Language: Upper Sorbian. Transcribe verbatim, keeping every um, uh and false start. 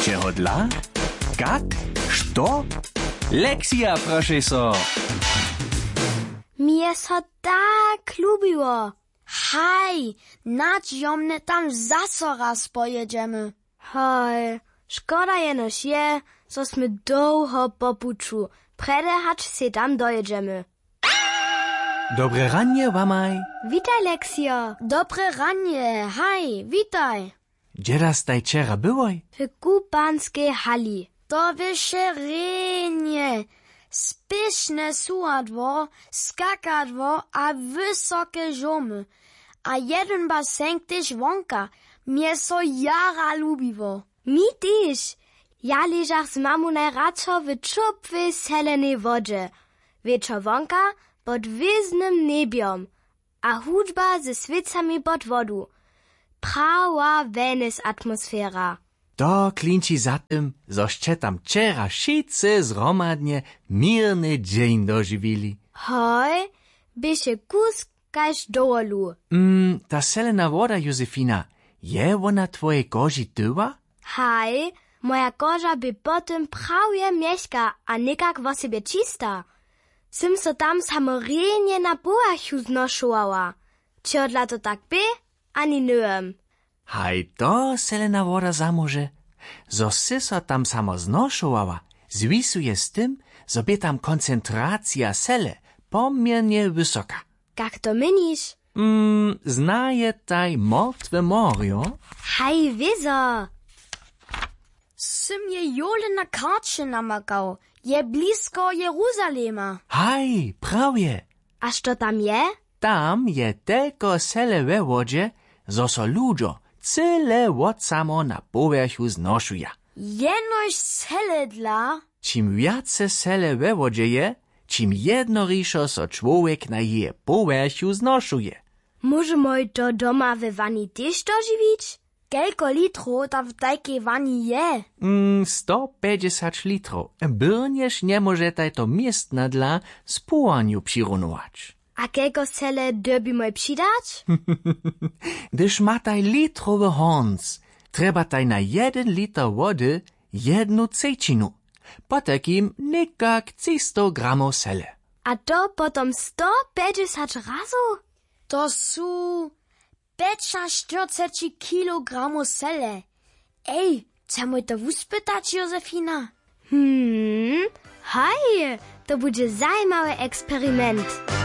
Jeho dla? Kak? Što? Lexija, prošej so. Mi je so tak lubiło. Haj, nadźijomnje tam zaso raz pojědźemy. Haj, škoda jenož je, zo smy dołho po puću, prjedy hač sej tam dojědźemy. Dobre ranje wamaj. Witaj, Leksijo. Dobre ranje, haj, witaj. Hdźe da staj wčera byłoj? W kupanskej hali. To běše rjenje, spěšne suhadło, skakadło a wysoke žomy. A jedyn basenk tež wonka. Mje so jara lubiło. Mi tež. Ja ležach z mamu najradšo w ćopłej selenej wodźe, wječor wonka pod hwězdnym njebjom a hudźba ze swěcami pod wodu. Prawa wellness atmosfera. To klinči za tym, zo sće tam wčera wšitcy zhromadnje měrny dźeń dožiwili. Hoj, běše kusk kaž dowolu. Mm, ta selena woda, Josefina, je wona twojej koži tyła? Haj, moja koža bě po tym prawje mjechka a někak wosebje čista. Sym so tam samo rjenje na powjerchu znošowała. Čehodla to tak bě, ani nywěm. Haj, to selena woda zamóže, zo sy so tam samo znošowała, zwisuje z tym, zo bě tam koncentracija sele poměrnje wysoka. Kak to měniš? Mm, znajetaj mortwe morjo? Haj, wězo. Sym je jole na karće namakał. Je blisko Jeruzalema. Haj, prawje. A što tam je? Tam je telko sele we wodźe, zo so ludźo cyle wot samo na powjerchu znošuja. Jenož sele dla? Čim wjace sele we wodźe je, čim jednorišo so čłowjek na jeje powjerchu znošuje. Móžemoj to doma we wani tež dožiwić? Kelko litrow tam w tajkej wani je? Mm, sto pjećdźesać litrow. Byrnjež njemóžetaj to městna dla z połarnju přirunować. A kelko sele dyrbimoj přidać? Hdyž mataj litrowy hornc, trjebataj na jedyn liter wody jednu třećinu, potajkim někak třistow gramow sele. A to potom sto pjećdźesać razow? To su pjećaštyrceći kilogramow sele. Ej, chcemoj to wuspytać, Josefina? Hmm, haj, to budźe zajimawy eksperiment.